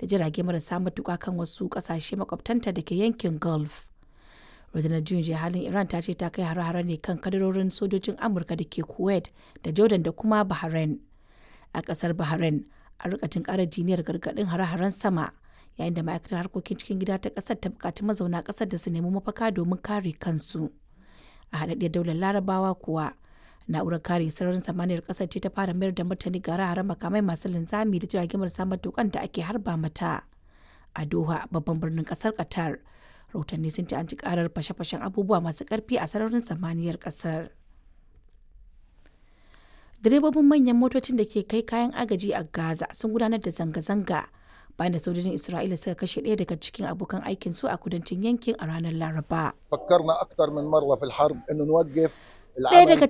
da jirage marasa matuƙa kan wasu ƙasashe makwabtanta da ke yankin Gulf. Rundunar juyin juya halin Iran ta ce ta kai hare-hare ne kan kadarorin sojojin Amurka da ke Kuwait da Jordan da kuma Bahrain. A ƙasar Bahrain, an rika jin ƙarar jiniyar gargaɗin hare-haren sama yayin da ma'aikatar harkokin cikin gida ta ƙasar ta buƙaci mazauna ƙasar da su nemi mafaka domin kare kansu. A haɗaɗɗiyar daular Larabawa kuwa, na'urar kare sararin samaniyar ƙasar ce ta fara mayar da martani ga hare-haren makamai masu linzami da jirage marasa matuƙan da ake harba mata. A Doha, babban birnin ƙasar Qatar, rahotanni sun ce an ci karar fashe-fashen abubuwa masu ƙarfi a sararin samaniyar ƙasar. Direbobin manyan motocin da ke kai kayan agaji a Gaza sun gudanar da zanga-zanga bayan da sojojin Isra'ila suka kashe ɗaya daga cikin abokan aikin su a kudancin yankin a ranar Laraba. فكرنا اكثر من مره في الحرب انه نوقف Ɗaya العمل daga